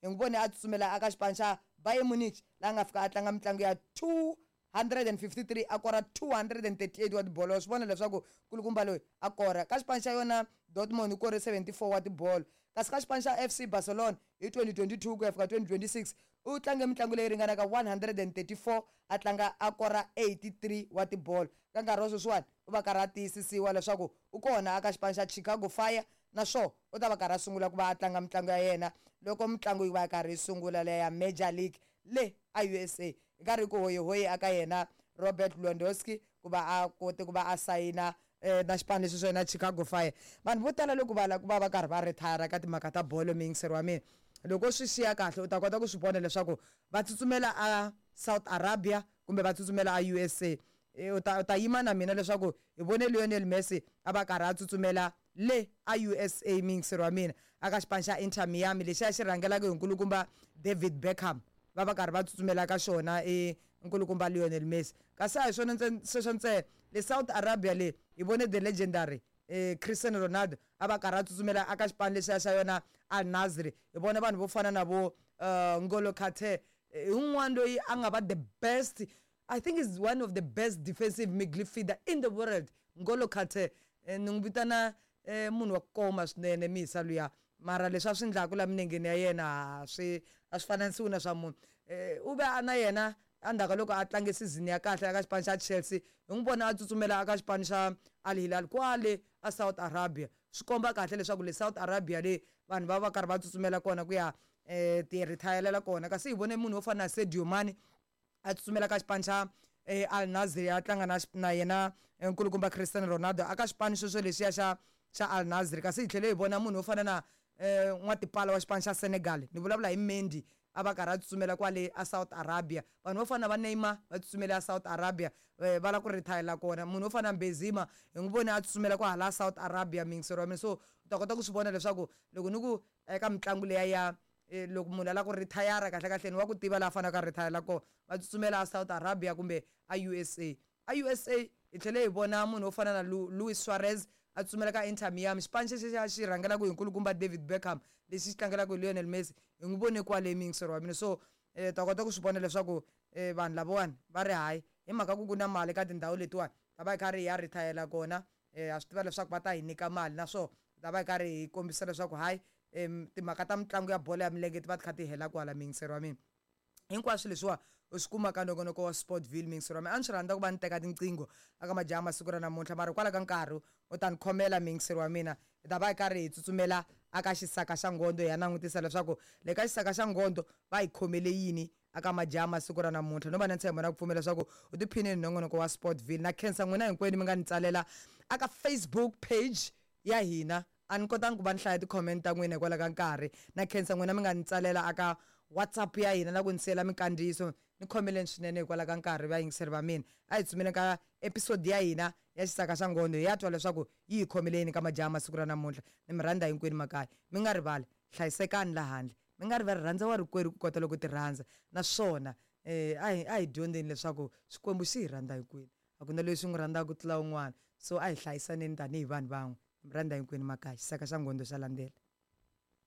Hi n'wi vone a tsutsumela aka xipano xa Bayern Munich laha nga fika a tlanga mitlangu ya 253 a kora 238 wa tibolo. Wa swi vona leswaku kulukumba loyi a kora ka xipano xa yona Dortmund u kore 74 wa tibolo, kasi ka xipano xa FC Barcelona hi 2022 ku ya fika 2026 u tlange mitlangu leyi ringanaka 134 a tlanga a kora 83 wa tibolo. Ka nkarhi wa sweswiwani u va karhi a tiyisisiwa leswaku u kona aka xipano xa Chicago Fire, naswona u ta va karhi a sungula ku va a tlanga mitlangu ya yena loko mitlangu yi va karhi yi sungula leya ya Major League le a USA. Hi karhi ku hoyihoyi aka yena Robert Lewandowski ku va a kote ku va a sayina na xipano lexi swa yena Chicago Fire. Vanhu vo tala loko va lava ku va va karhi va retire ka timhaka ta bolo, muyingiseri wa mina, loko swi xiya kahle u ta kota ku swi vona leswaku va tsutsumela a South Arabia kumbe va tsutsumela a USA. U ta yima na mina leswaku hi vone Lionel Messi a va karhi a tsutsumela le a USA, muyingiseri wa mina, aka xipano xa Inter Miami lexiya xi rhangelaka hi nkulukumba David Beckham. Va karhi va tsutsumela ka xona i nkulukumba Lionel Messi. Kasi a hi swona sweswo ntsena, le South Arabia le hi vone the legendary Cristiano Ronaldo a va karhi a tsutsumela aka xipano lexiya xa yona Al Nassr. Hi vona vanhu vo fana na vo N'Golo Kante, hi un'wana loyi a nga va the best, I think is one of the best defensive midfielder in the world. N'Golo Kante, ni n'wi vitana munhu wa ku koma swinene misa luya, mara leswi a swi endlaku la minengeni ya yena swi a swi fananisiwi na swa munhu. U ve a na yena endzhaku ka loko a tlange season ya kahle eka xipano xa Chelsea, hi n'wi vona a tsutsumela aka xipano xa Al Hilal kwale a South Arabia. Swi komba kahle leswaku le South Arabia le vanhu va va karhi va tsutsumela kona ku ya ti retire kona. Kasi hi vone munhu wo fana na Sadio Mane a tsutsumela ka xipano xa Al Nassr, a tlanga na yena nkulukumba Cristiano Ronaldo aka xipano xexo lexiya xa Al Nassr. Kasi hi tlhele hi vona munhu wo fana na n'watipala wa xipano xa Senegal, ni vulavula hi Mendy, a va karhi a tsutsumela kwale a South Arabia. Vanhu vo fana na va Neymar va tsutsumela a South Arabia, va lava ku retire kona. Munhu wo fana na Benzema hi n'wi vone a tsutsumela kwahala South Arabia, muyingiseri wa mina. So u ta kota ku swi vona leswaku loko ni ku eka mitlangu leya ya loko munhu a lava ku retire, kahle kahle ni wa ku tiva laha a faneleke a retire kona, va tsutsumela a South Arabia kumbe a USA. A USA hi tlhele hi vona munhu wo fana na Luis Suarez a tsutsumela ka Inter Miami, xipano xexo xa xi rhangelaka hi nkulukumba David Beckham lexi xi tlangelaka hi Lionel Messi. Hi n'wi vone kwale, muyingiseri wa mina. So ta kota ku swi vona leswaku vanhu lavawani va ri hayi, hi mhaka ku ku na mali ka tindhawu letiwani, ta va hi karhi hi ya retire kona, ha swi tiva leswaku va ta hi nyika mali, naswona ta va hi karhi hi kombisa leswaku hayi, timhaka ta mitlangu ya bolo ya milenge ti va ti kha ti hela kwala. Muyingiseri wa mina, hinkwaswo leswiwa u swi kuma ka nongonoko wa Sportville. Muyingiseri wa mina, a ni swi rhandza ku va ni teka tinqingho aka majaha masiku ra namuntlha, mara kwala ka nkarhi u ta ni khomela, muyingiseri wa mina. Hi ta va hi karhi hi tsutsumela aka xisaka xa ngondo, hi ya langutisa leswaku le ka xisaka xa ngondo va hi khomele yini aka majaha masiku ra namuntlha. No va na ntshembo na ku pfumela leswaku u tiphinile hi nongonoko wa Sportville. Na khensa n'wina hinkwenu mi nga ni tsalela aka Facebook page ya hina. A ni kotangi ku va ni hlaya ti-comment ta n'wina hikwalaho ka nkarhi. Na khensa n'wina mi nga ni tsalela aka WhatsApp ya hina na ku ni siyela minkandziyiso. Ni khomeleni swinene hikwalaho ka nkarhi, vayingiseri va mina. A hi tsumeleni ka episode ya hina ya xisaka xa ngondo, hi ya twa leswaku yi hi khomele yini ka majaha masiku ra namuntlha. Ni mi rhandza hinkwenu makaya. Mi nga rivali, hlayisekani la handle. Mi nga rivali, rhandza wa rikwerhu ku kota loko ti rhandza. Naswona a hi dyondzeni leswaku Xikwembu xi hi rhandza hinkwenu, a ku na loyi xi n'wi rhandzaka ku tlula un'wana. So a hi hlayisaneni tanihi vanhu van'we. Mi rhandza hinkwenu makaya. Xisaka xa ngondo xa landzela.